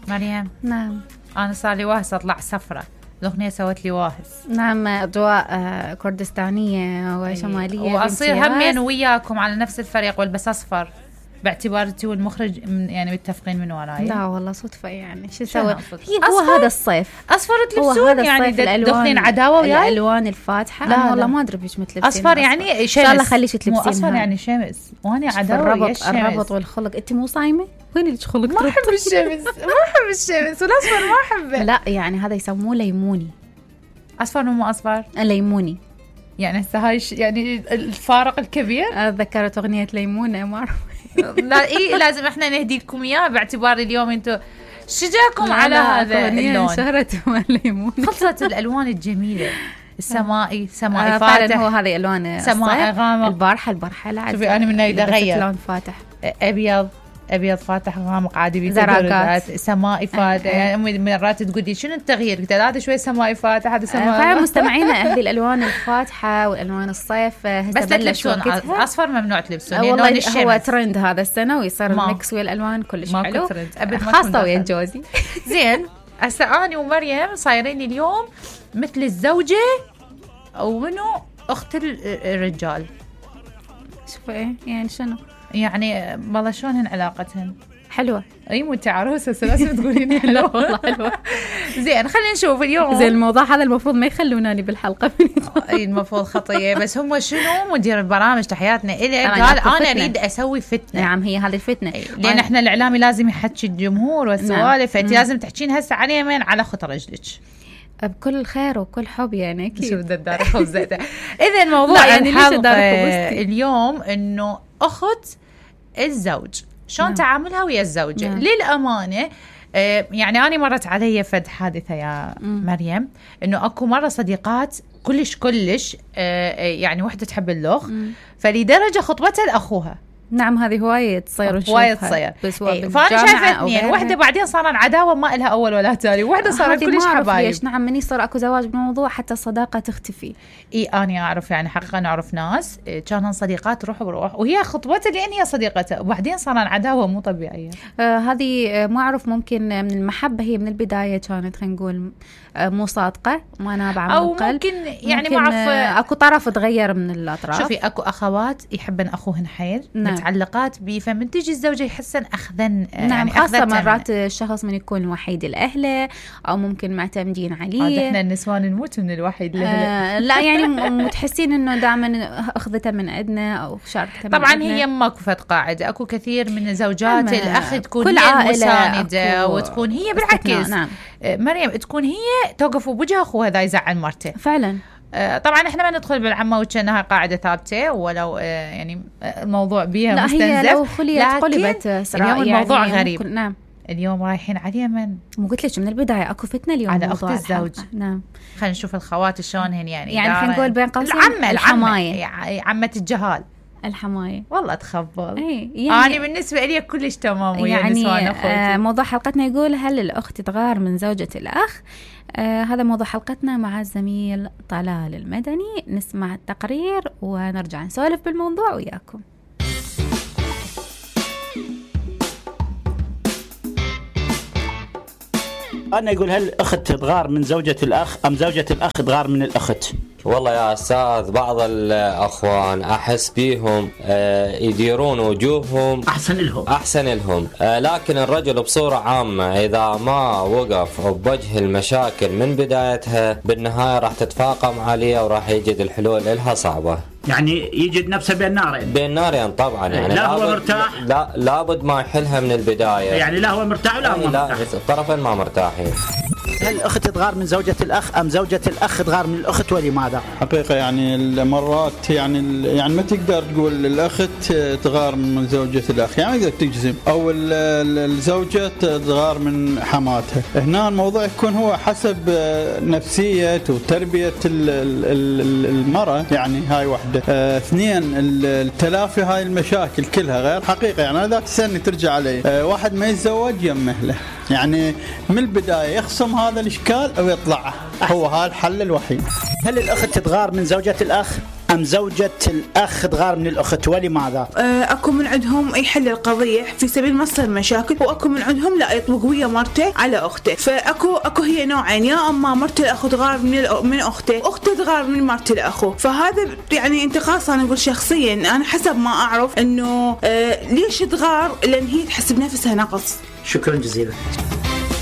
مريم. نعم. أنا صار لي واهس أطلع سفرة، الأغنية سوت لي واهس. نعم، أضواء كردستانية وشمالية، وأصير همين وياكم على نفس الفريق والبس أصفر باعتبار انتي والمخرج يعني متفقين من وراي. لا والله صدفة، يعني شو سوى؟ هو هذا الصيف اصفر تلبسون يعني دخلين عداوه وياي الالوان الفاتحه. لا انا والله ما ادري بيش متلبسين اصفر يعني شمس. ان شاء الله خليش تلبسين اصفر يعني شمس، وانا عداوه الربط والخلق. انت مو صايمه؟ وين اللي خلق؟ ما احب الشمس، ما احب الشمس، والاصفر ما احبه. لا يعني هذا يسموه ليموني. اصفر ومو اصفر؟ ليموني. يعني هسه هاي يعني الفارق الكبير. ذكرت اغنيه ليمونه، ما اعرف. لا إيه، لازم احنا نهدي لكم اياه باعتبار اليوم انتم شجاكم على هذا اللون. شهرت الليمون، خلصت الالوان الجميله، السمائي، سمائي فاتح. فعلا هو هذه الوان سمائي غامق. البارحه لا شوفي انا من هنا اغير لون فاتح، ابيض فاتح غامق عادي، زراقات، سمائي فاتح. يعني امي مرات تقولي شنو التغيير؟ قلت هذا شوي سمائي فاتح، هذا سمائي. فعلا مستمعينا هذه الالوان الفاتحه والالوان الصيف بس تلبسون اصفر ممنوع تلبسون. والله هو ترند هذا السنه، ويصير الميكس والالوان كلش حلو، خاصه ويا جوزي. زين هسه اني ومريم صايرين اليوم مثل الزوجه ومنو اخت الرجال. شوفوا ايه يعني شنو يعني والله شلونهن علاقتهن؟ حلوة. اي مو انت عروسه لازم تقولين حلوة. والله حلوة. زين خلينا نشوف اليوم. زين الموضوع هذا المفروض ما يخلوناني بالحلقة. اي المفروض خطية، بس هم شنو مدير البرامج تحياتنا إليه قال انا اريد اسوي فتنة. نعم هي هذه الفتنة، لان احنا الاعلامي لازم يحكي الجمهور والسوالف. فانت لازم تحكين هسه عن يمين على خط رجلك بكل خير وكل حب. يعني اكيد شو بدك تدار خبزته. اذا الموضوع يعني الحلقة اليوم انه اخت الزوج شلون تعاملها ويا الزوجة. للأمانة يعني أنا مرت علي فد حادثة يا مريم، إنه أكو مرة صديقات كلش يعني وحدة تحب اللغ، فلدرجة خطبتها لأخوها. نعم هذه هواية تصير هواية تصير. فأنا شايفة اثنين، وحدة بعدين صار عداوة ما إلها أول ولا تالي، وحدة صارت كلش حبايب. نعم من يصير أكو زواج بالموضوع حتى الصداقة تختفي. أنا أعرف يعني حقيقة نعرف ناس كانوا صديقات روح بروح، وهي خطبتها لأن هي صديقتها، وبعدين صار عداوة مو طبيعية. هذه ما أعرف، ممكن من المحبة هي من البداية كانت خلينا نقول مو صادقة، ما نابعة من القلب، أو ممكن يعني ما أعرف أكو طرف تغير من الأطراف. شوفي أكو أخوات يحبن أخوهن حيل، متعلقات بيه، فمن تجي الزوجة يحسن أخذن. نعم يعني خاصة مرات الشخص من يكون وحيد الأهل أو ممكن معتمدين عليه. احنا النسوان نموت من الوحيد الأهل. لا يعني متحسين إنه دائما أخذته من عندنا أو شاركته من طبعا عندنا. هي ماكو فد قاعدة، أكو كثير من زوجات الأخ تكون هي المساندة، وتكون هي بالعكس. نعم. مريم تكون هي توقف بوجه أخوها إذا يزعل مرته فعلا. طبعا احنا ما ندخل بالعمة وكأنها قاعدة ثابتة، ولو يعني الموضوع بيها مستنزف. لا هي لو خليت قلبت اليوم الموضوع يعني غريب. نعم اليوم رايحين على اليمن. مو قلت لك من البداية أكو فتنة اليوم على أخت الزوج. نعم خلينا نشوف الخوات شلونهن يعني خلينا نقول بين قوسين الحماية، عمة الجهال. الحماية والله تخبل. يعني أنا بالنسبة لي كلش تمام ويا يعني نسوان أخوتي. موضوع حلقتنا يقول هل الأخت تغار من زوجة الأخ؟ هذا موضوع حلقتنا مع الزميل طلال المدني. نسمع التقرير ونرجع نسولف بالموضوع وياكم. أنا يقول هل الأخت تغار من زوجة الأخ أم زوجة الأخ تغار من الأخت؟ والله يا أستاذ بعض الأخوان أحس بيهم يديرون وجوههم أحسن لهم لكن الرجل بصورة عامة إذا ما وقف بوجه المشاكل من بدايتها بالنهاية راح تتفاقم عليه وراح يجد الحلول إلها صعبة. يعني يجد نفسه بين نارين طبعا. يعني لا هو مرتاح، لابد ما يحلها من البداية. يعني لا هو مرتاح ولا هو مرتاح، الطرفين ما مرتاحين. هل الأخت تغار من زوجة الأخ أم زوجة الأخ تغار من الأخت ولماذا؟ حقيقة يعني المرات يعني ما تقدر تقول الأخت تغار من زوجة الأخ، يعني ما تقدر تجزم، أو الزوجة تغار من حماتها. هنا الموضوع يكون هو حسب نفسية وتربية المرأة. يعني هاي واحدة. اثنين التلافي هاي المشاكل كلها غير حقيقة. يعني ذاك السنة ترجع عليه واحد ما يتزوج يمه له، يعني من البداية يخصم هذا الإشكال أو يطلعه، هو هذا الحل الوحيد. هل الأخت تغار من زوجة الأخ أم زوجة الأخ تغار من الأخت ولماذا؟ أكو من عندهم يحل القضية في سبيل ما تصير مشاكل، وأكو من عندهم لا يطلق ويا مرته على أخته. فأكو هي نوعين، يا أما مرت الأخ تغار من أخته تغار من مرت الأخو. فهذا يعني انتقاص. أنا أقول شخصيا أنا حسب ما أعرف إنه ليش تغار، لأن هي تحس بنفسها نقص. شكرا جزيلا.